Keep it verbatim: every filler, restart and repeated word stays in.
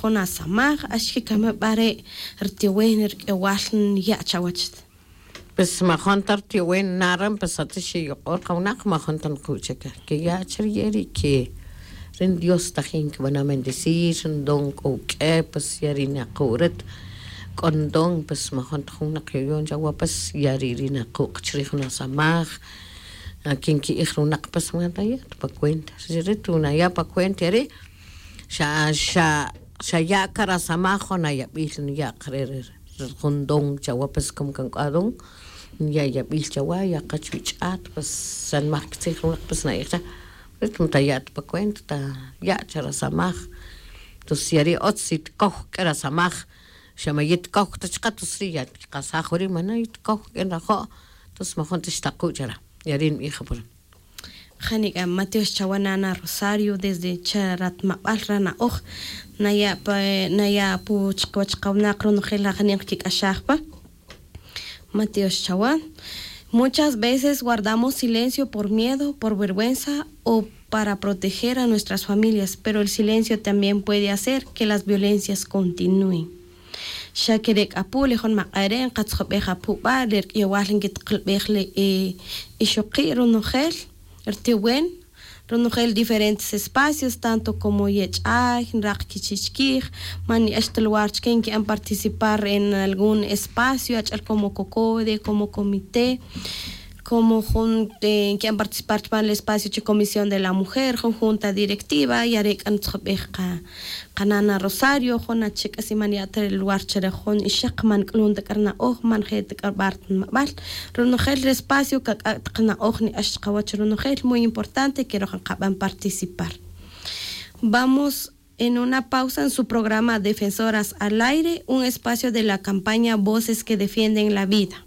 jun asamaj, axkikame' b'are' rtiwen rk'ewal nya' chawach. Pues majun ta rtiwen naren pues ati xiyuq'o ri qawinaq majun ta nuqu' chike kiya' chi riye' ri' ke ri dios tajin kib'ana' bendecir ri don k'o wuk'e pues ya ri' naku' rit k'o ndon pues majun ta jun naq yoyon chawa pues ya ri' ri' naku' chi rij jun asamaj. Kin ki'ij ri winaq pues ma naya' ta pa cuenta ri' ri' tu naya' pa cuenta ya ri' xa xa xa ya' ka rasamaj jun ayab'il nuya' ka re' ri jun don chawa pues como kan k'o adon ya' yab'il chawa ya' ka chuch'at pues xa nmaj kitzij ri winaq pues na'ij cha ri' ta ma taya' ta pa cuenta ta ya' cha rasamaj. Tonces ya ri' otz si tikoj k'a rasamaj xa ma yitikoj ta chaqe tonces ri' ya tikasaj wari' ma na yitikoj k'a nrajo'. Tonces majun ta xtaku' chara' ya ri' nb'ij apure'. Janik'a matiox chawa nana rosario desde charatmab'al rana'oj naya' pa naya' apu chikiwach qawinaq ronojel ajaniq kik'axaj pa. Matiox chawa. Muchas veces guardamos silencio por miedo por vergüenza o para proteger a nuestras familias pero el silencio también puede hacer que las violencias continúen. Xa kere' k'a apu' le jun maq'ay re' nqatzjob'ej apu' b'a' le rk'iyowal nkitqilb'ej le ixoqi' ronojel rtiwen ronojel diferentes espacios tanto como yech'ay nraq kichi' chkij man ni'ax ta lugar chike nki'an participar en algún espacio ach'el como cocode como comité como jun nki'an participar chupan le espacio chi comisión de la mujer jun junta directiva y are' k'a ntzjob'ej qa qanana rosario jun achi' k'asi man ya' ta lugar chire jun ixaq man k'ulun ta k'a rina'oj man je' ta k'a rib'ar ta nimab'al. Ronojel re espacio kak'ak' ta qana'oj ni'ax chaqawach ronojel muy importante keroj nqab'an participar. Vamos en una pausa en su programa defensoras al aire un espacio de la campaña voces que defienden la vida.